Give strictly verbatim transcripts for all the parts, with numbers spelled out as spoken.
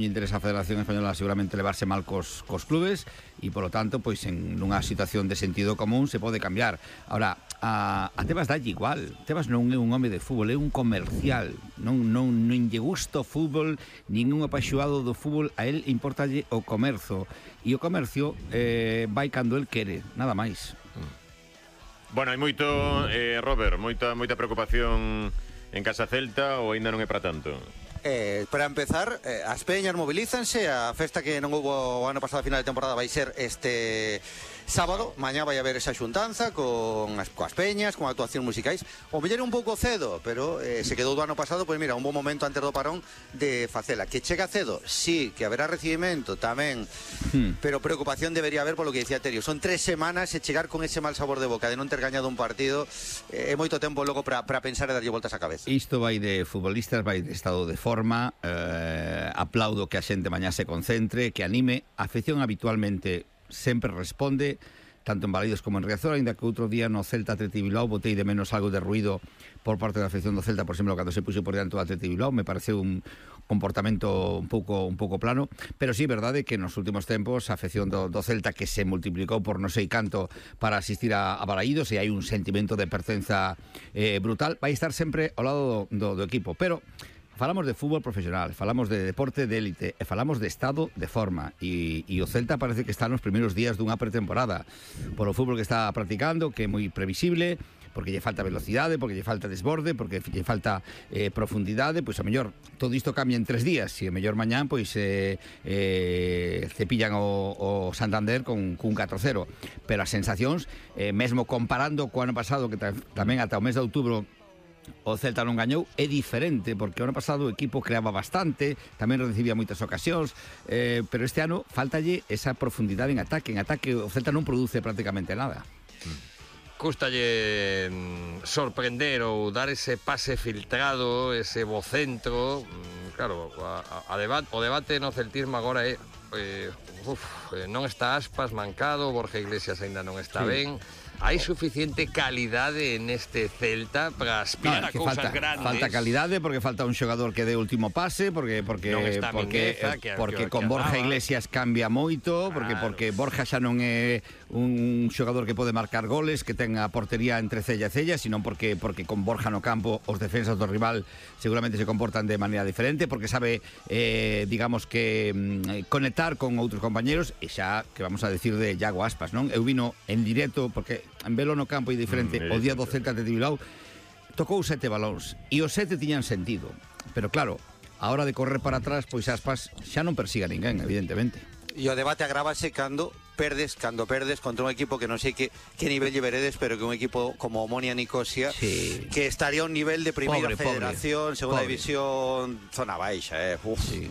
interesa a Federación Española seguramente levarse mal cos, cos clubes e, polo tanto, pois en unha situación de sentido común se pode cambiar. Ahora, a, a Tebas dalle igual. Tebas non é un home de fútbol, é un comercial. Non, non, non lle gusta o fútbol, ningún apaixoado do fútbol, a él importalle o comercio. E o comercio eh, vai cando el quere, nada máis. Bueno, hai moito, eh, Robert, moita, moita preocupación en Casa Celta ou aínda non é para tanto? Eh, para empezar, eh, as peñas mobilízanse. A festa que non houbo o ano pasado a final de temporada vai ser este sábado. Mañá vai haber esa xuntanza con as, coas peñas, con actuacións musicais. O mellor un pouco cedo, pero eh, se quedou do ano pasado. Pois mira, un bon momento antes do parón de facela. Que chega cedo, sí, que haberá recibimento tamén, hmm. pero preocupación debería haber polo que dicía Terio. Son tres semanas e chegar con ese mal sabor de boca de non ter gañado un partido é eh, moito tempo logo para pensar e darlle voltas á cabeza. Isto vai de futbolistas, vai de estado de forma. eh, aplaudo que a xente mañá se concentre, que anime. A afección habitualmente sempre responde, tanto en Balaídos como en Riazor, ainda que outro día no Celta Atleti Bilbao botei de menos algo de ruido por parte da afección do Celta, por exemplo, cando se puxo por diante do Atleti Bilbao. Me pareceu un comportamento un pouco un pouco plano, pero sí é verdade que nos últimos tempos a afección do, do Celta, que se multiplicou por non sei canto para asistir a, a Balaídos, e hai un sentimento de pertenza eh, brutal, vai estar sempre ao lado do, do, do equipo. Pero falamos de fútbol profesional, falamos de deporte de élite e falamos de estado de forma, e, e o Celta parece que está nos primeiros días dunha pretemporada polo fútbol que está practicando, que é moi previsible, porque lle falta velocidade, porque lle falta desborde, porque lle falta eh, profundidade. Pois a mellor todo isto cambia en tres días, e a mellor mañán pois eh, eh, cepillan o, o Santander con, con un catro cero, pero as sensacións, eh, mesmo comparando co ano pasado, que tamén ata o mes de outubro o Celta non gañou, é diferente, porque o ano pasado o equipo creaba bastante, tamén recibía moitas ocasións, eh, pero este ano faltalle esa profundidade en ataque. En ataque o Celta non produce prácticamente nada. Custalle sorprender ou dar ese pase filtrado, ese bocentro. Claro, a, a debate, o debate no celtismo agora é eh, uf, non está Aspas mancado, Borja Iglesias aínda non está sí. ben. Hai suficiente calidade neste Celta para aspirar no, a cousas falta, grandes. Falta calidade porque falta un xogador que dé último pase, porque porque non está porque Mingueza, que, porque que, con que Borja andaba. Iglesias cambia moito, porque claro. porque Borja xa non é un xogador que pode marcar goles, que ten a portería entre cella e cella, sino porque porque con Borja no campo os defensas do rival seguramente se comportan de maneira diferente, porque sabe eh, digamos que mm, conectar con outros compañeros, e xa que vamos a decir de Iago Aspas, non? Eu vino en directo porque en velo no campo é diferente. Mm, o día do Celta de Bilbao tocou sete balóns e os sete tiñan sentido, pero claro, a hora de correr para atrás, pois Aspas xa non persiga ninguén, evidentemente. E o debate agravase cando perdes, cando perdes contra un equipo que non sei que, que nivel lle veredes, pero que un equipo como Omonia Nicosia, sí. que estaría a un nivel de primeira pobre, federación, pobre, segunda pobre. división, zona baixa, eh. Uf. Sí.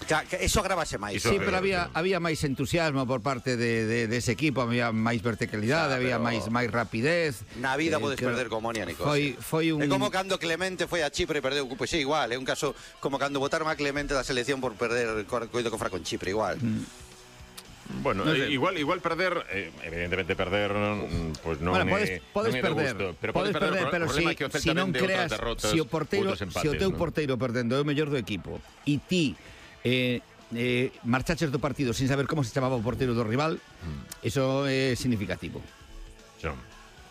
Que, que eso agravase máis. Sí, pero había había máis entusiasmo por parte de, de, de ese equipo, había máis verticalidade, o sea, había máis máis rapidez. Na vida eh, podes perder como Omonia Nicosia. Foi foi un É como cando Clemente foi a Chipre e perdeu, pois é igual, é un caso como cando botaron a Clemente da selección por perder coido que fra con Chipre, igual. Mm. Bueno, no sé. igual igual perder, eh, evidentemente perder pues non bueno, podes, é podes non é perder, gusto, pero podes podes perder, perder, pero si, si non creas, se o porteiro, se o teu ¿no? porteiro perdendo é o mellor do equipo e ti eh, eh, marchaches do partido sin saber como se chamaba o porteiro do rival, mm. eso é significativo. Son.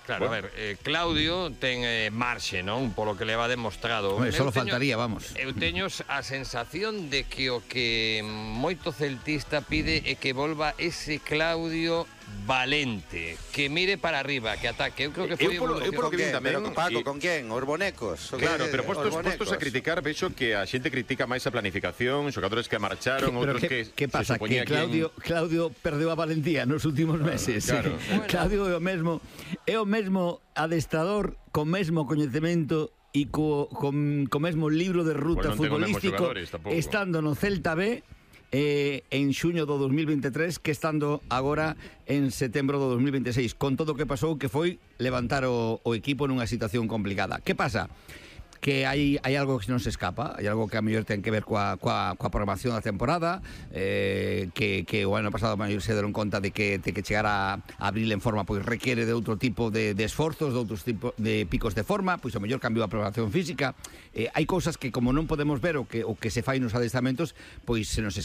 Claro, bueno. a ver, eh, Claudio ten eh, marxe, non? Polo que leva demostrado. Bueno, só faltaría, vamos. Eu teño a sensación de que o que moito celtista pide é que volva ese Claudio valente, que mire para arriba, que ataque. Eu creo que foi eu polo, eu polo que vin tamén, pero Paco, con quen? Os bonecos. Claro, pero postos, postos a criticar, vexo que a xente critica máis a planificación, xogadores que marcharon, outros que, que, que pasa, que Claudio, en... Claudio perdeu a valentía nos últimos meses. Claro. Sí. Bueno. Claudio é o mesmo, é o mesmo adestrador co mesmo coñecemento e co, con, co mesmo libro de ruta bueno, futbolístico, estando no Celta B eh, en xuño do dos mil veintitrés que estando agora en setembro do dos mil veintiséis, con todo o que pasou, que foi levantar o, o equipo nunha situación complicada. Que pasa? Que hai, hai algo que non se escapa, hai algo que a mellor ten que ver coa, coa, coa programación da temporada, eh, que, que o ano pasado a mellor se deron conta de que, de que chegar a abril en forma pois requiere de outro tipo de, de esforzos, de outros tipos de picos de forma, pois a mellor cambiou a programación física. Eh, hai cousas que como non podemos ver o que, o que se fai nos adestramentos, pois se nos escapa.